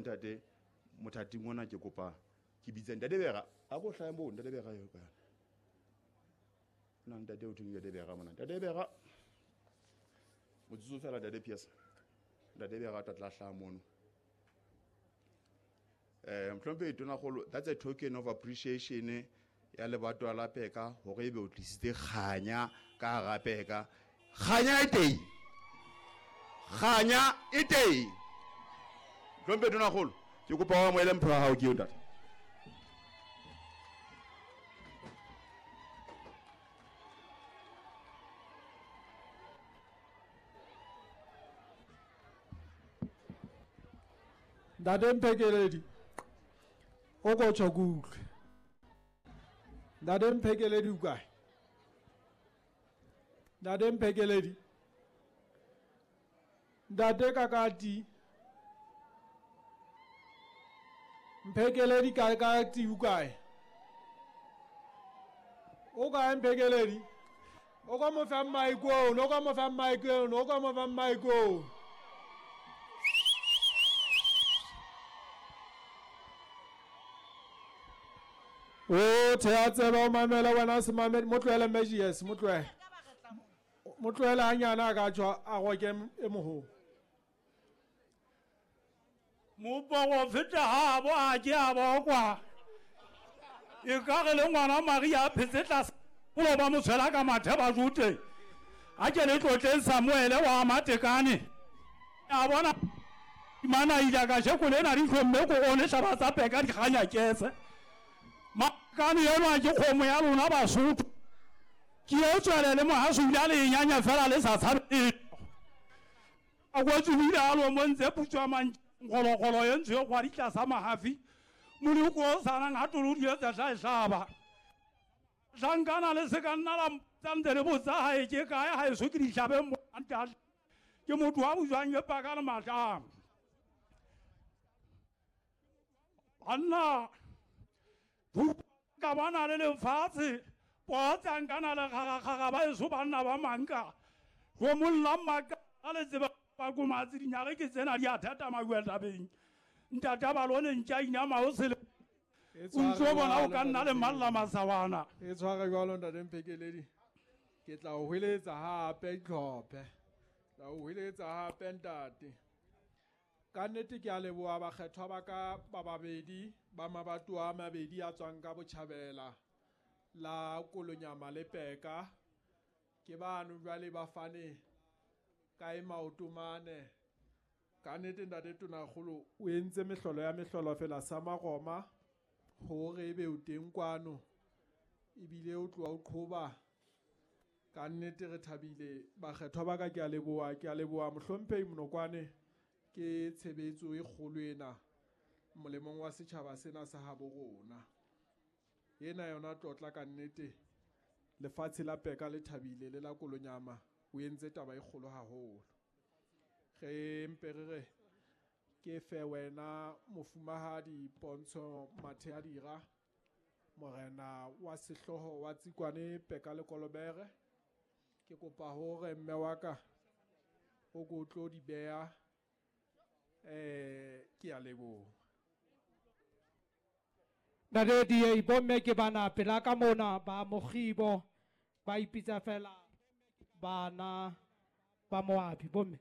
Bontate, mothating ona ke kopa ke bitse Ntate Bera. A ko hlahe moo Ntate Bera eo ka. Na ntate o thong Ntate Bera mona. Ntate Bera. Motsotso fela Ntate Pierce. Ntate Bera tla tla hlaha mono. Mohlomphehi Tonakgolo, that's a token of appreciation ya lebatowa la Peka hore ebe o tlisitse kganya ka hara Peka. Kganya e teng. Kganya e teng. Mohlomphehi Tonakgolo, ke kopa o amohele mpho ya hao ke eo ntate. Ntate Mphekeledi, o ko tjho ke utlwe. Ntate Mphekeledi o kae? Ntate Mphekeledi. Ntate Kakati. Mphekeledi Kakati o kae? O kae Mphekeledi? O ka mo fa mic o, o ka mo fa mic o, o ka mo fa mic o. O thea tseba o mamela wena se mamele, mo tlohele Magius, mo tlohele. Mo tlohele hanyane a ka tswa a goke e moholo. Moporofeta ha bo a ke a bokwa. E ka re le ngwana Maria a phetse tlase o ba mo tshwela ka mathe ba jute. A ke le tlotleng Samuele wa Matekane. A bona mana ile ka sheko lena di hlomme ko one hlaba tsa peka di kganya kese. Makane enwa ke kgomo ya lona Basotho. Ke e tswele le mohaso o ile a le nyanya fela le sa tshabe. A go tswile a lo mo ntse putswa mang ngologolo e ntsho e gwa ditlasa mahafi. Moloko o sanang ha tolo di etsa tla e hlaba. Hlankana le se ka nna la mpotsa ntse le botsa hae ke kae ha eso ke di hlabe mo ntate. Ke motho wa bojwang e paka le matlamo. Banna, ka bona le lefatshe, potsa nkana le kgakgakga ba eso banna ba manka. Go molla maka a le tseba ba komatse dinyage ke tsena di a thata mabueltabeng. Ntata ba lone ntša inama o sele. E O ntso tshware bona o jwalo, ka nna le Ntate malla masawana. E tshware jwalo Ntate Mphekeledi. Ke tla o hweletsa hape ditlhophe. Tla o hweletsa hape ntate. Ka nnete ke a leboha bakgethwa ba ka ba babedi ba mabatowa a mabedi a tswang ka botjhabela la Kolonyama le Peka. Ke bano jwale ba fane ka e maoto mane. Ka nnete Ntate Tonakgolo o entse mehlolo ya mehlolo fela sa Maroma hore ebe o teng kwano ebile o tloha o qhoba. Ka nnete re thabile bakgethwa ba ka, ke a leboha, ke a leboha mohlomphehi Monokwane. Ke tshebetso e kgolo ena molemong wa setjhaba sena sa habo rona. Ena yona tlotla ka nnete, lefatshe la Peka le thabile le la Kolonyama o entse taba e kgolo haholo. Re mpe re re ke fe wena mofumahadi Pontsho Matheadira, morena wa sehlooho wa Tsikwane Peka le Kolobere. Ke kopa hore mme wa ka o ko tlo di beha. Ke a leboha. Ntate DA, bomme ke bana pela ka mona ba Mokgibo ba ipitsa fela bana ba Moabi bomme.